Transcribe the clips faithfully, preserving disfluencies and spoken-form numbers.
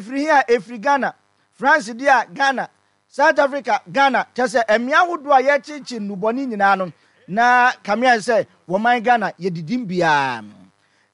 Ɛfiri he a ɛfiri Ghana, France deɛ a Ghana, South Africa, Ghana, kyerɛ sɛ mmea ahodoɔ a yɛkyekye nnubɔne nyinaa no, na kame ayɛ sɛ wɔman Ghana yɛdidim biara.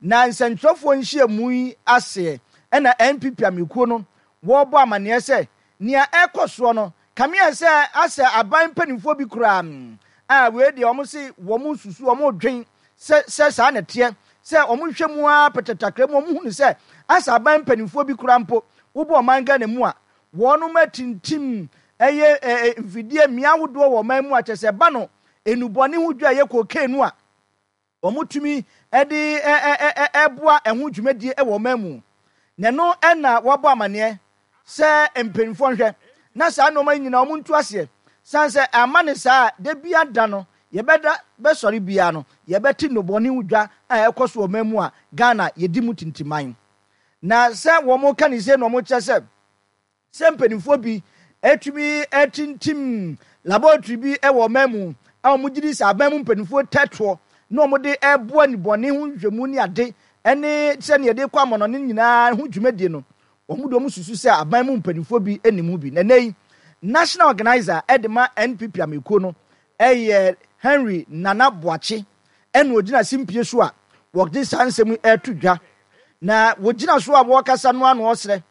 Na nsɛntwerɛfoɔ nhyiamu yi aseɛ ɛna N P P amekuo no wɔrebɔ amanneɛ sɛ nea ɛkɔ soɔ no kame ayɛ sɛ asɛ aban mpanimfoɔ bi koraa a wei deɛ wɔn se wɔn susu, wɔn dwen sɛ sɛ saa na ɛteɛ, sɛ wɔn hwɛ mu ara pɛtɛtakra mu, wɔn hunu sɛ asɛ aban mpanimfoɔ bi koraa mpo wobɔ ɔman Ghana mu a wɔn atintim ɛyɛ ɛɛ mfidie mmea ahodoɔ wɔ ɔman mu a kyerɛ sɛ ba no enubɔne ho dwa ɛyɛ cocaine no a wɔn tumi ɛde ɛ ɛ ɛboa ɛho dwumadie ɛwɔ ɔman mu. Na ɛno ɛna wɔabɔ amanneɛ sɛ mpanyinfoɔ nhwɛ na saa nneɛma yi nyinaa wɔn ntu aseɛ, san sɛ ama ne saa de bi ada no yɛbɛda bɛsɔre biara no yɛbɛte nnubɔne ho dwa a ɛkɔ so wɔ ɔman mu a Ghana yɛdi mu tintiman. Na sɛ wɔn ka ne se na wɔn kyerɛ sɛ sɛ mpanimfoɔ bi etumi etintim laboratory bi ɛwɔ ɔman mu a wɔn gye di sɛ aban mu mpanimfoɔ tɛtoɔ na wɔn de ɛboa nnubɔne ho nhwɛmu ne ade ɛne sɛnea yɛde kɔ amɔnɔne nyinaa ho dwumadie no, wɔn de wɔn susu sɛ aban mu mpanimfoɔ bi anim bi. Na nne yi national organizer ɛde ma N P P amekuo no ɛyɛ Henry Nana Boakye, ɛna ogyina simpie so a wɔde saa nsɛm yi ɛreto dwa. Na wɔgyina so a wɔrekasa no ano ɔsrɛ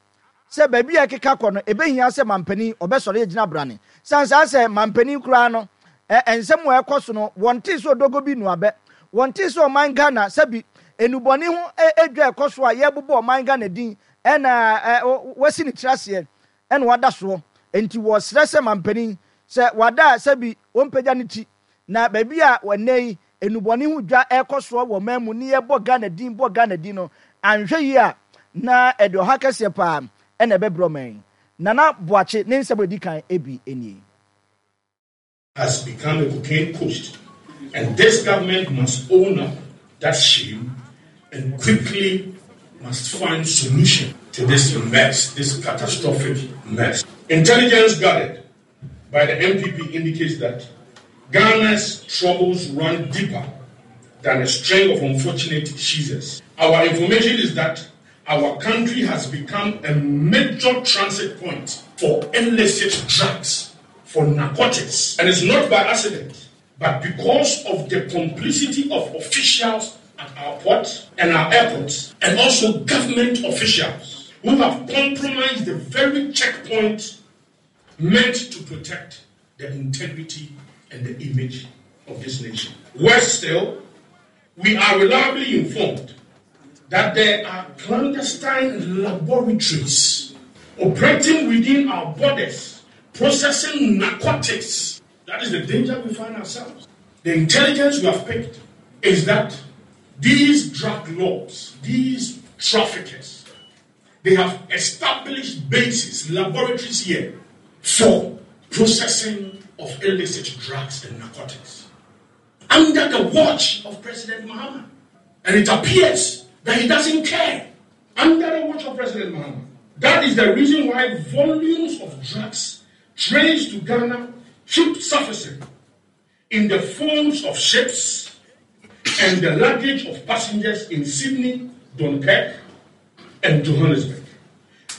sɛ baabi a ɛkeka kɔ no ebɛhia sɛ mampanin ɔbɛsɔre agyina brane, san saa sɛ mampanin koraa no ɛ nsɛm a ɛkɔ so no, wɔnte sɛ odogo bi nuabɛ, wɔnte sɛ ɔman Ghana sɛbi enubɔne ho edwa ɛkɔ so a yɛbobɔ ɔman Ghana din ɛna ɛ wasi ne tiri aseɛ ɛna wada soɔ. Nti wɔsrɛ sɛ mampanin sɛ wada a sɛbi wɔmpagya ne ti na baabi a wɔnɛ yi enubɔne ho dwa ɛkɔ soɔ wɔ ɔman mu ne yɛbɔ Ghana din bɔ Ghana din no, anhwɛ yie a na ɛde ɔha kɛseɛ paa ɛna ɛbɛbrɛ ɔman yi. Nana Boakye ne nsɛm a edi kan ebi nie. Has become a cocaine coast. And this government must own up that shame and quickly must find solution to this mess, this catastrophic mess. Intelligence gathered by the N P P indicates that Ghana's troubles run deeper than a string of unfortunate scissors. Our information is that our country has become a major transit point for illicit drugs, for narcotics. And it's not by accident, but because of the complicity of officials at our ports and our airports, and also government officials who have compromised the very checkpoint meant to protect the integrity and the image of this nation. Worse still, we are reliably informed that there are clandestine laboratories operating within our borders, processing narcotics. That is the danger we find ourselves. The intelligence we have picked is that these drug lords, these traffickers, they have established bases, laboratories here for processing of illicit drugs and narcotics under the watch of President Mahama. And it appears that he doesn't care, under the watch of President Mahama. That is the reason why volumes of drugs traced to Ghana keep surfacing in the forms of ships and the luggage of passengers in Sydney, Dunkirk, and Johannesburg.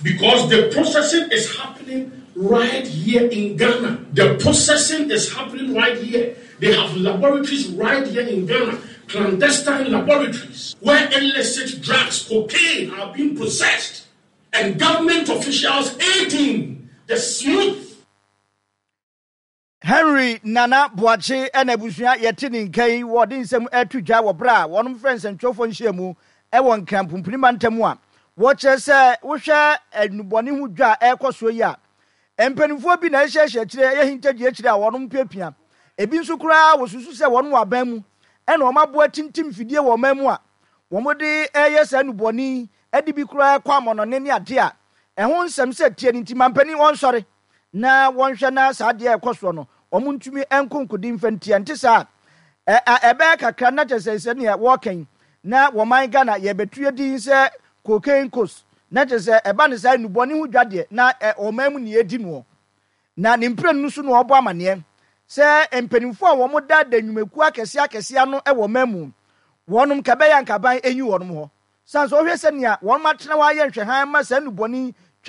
Because the processing is happening right here in Ghana. The processing is happening right here. They have laboratories right here in Ghana, clandestine laboratories, where illicit drugs, cocaine, are being processed, and government officials aiding the smooth Henry Nana Boakye ɛna abusua yɛte ne nka yi, wɔde nsɛm ɛto dwa wɔ berɛ a wɔnom frɛ nsɛntwerɛfoɔ nhyiamu ɛwɔ Nkran pumpuni ntam a wɔkyerɛ sɛ wohwɛ nnubɔne ho dwa a ɛrekɔ soɔ yi a, mpanimfoɔ bi na ɛhyehyɛ akyire, ɛyɛ hintagye akyire a wɔnom piapia. Ebi nso koraa wɔsusu sɛ wɔn wɔ aban mu ɛna wɔn aboa tintim fidie wɔ ɔman mu a wɔn de ɛyɛ saa nnubɔne ɛde bi koraa kɔ amɔnɔne ne ade a ɛho nsɛm sɛ tie ne nti mampanin wɔnsɔre na wɔnhwɛ na saa adeɛ a ɛkɔ soɔ no wɔn ntumi nkonkodi mfa ntia. Nte saa ɛ ɛbɛyɛ kakra na kyerɛ sɛ sɛnea wɔɔka yi na wɔman Ghana yɛbɛtu yɛ din sɛ cocaine coast, na kyerɛ sɛ ɛba ne saa nnubɔne ho dwa deɛ na ɛ ɔman mu ne yɛdi noɔ. Na ne mprenu no so na ɔbɔ amaneɛ sɛ mpanimfoɔ a wɔn da da nnwumakuo akɛseɛ akɛseɛ ano wɔ ɔman mu wɔnom ka bɛyɛ ankaban enyi wɔnom hɔ san sɛ ɔhwɛ sɛnea wɔn atena hɔ ayɛ nhwɛhan ma saa nnubɔne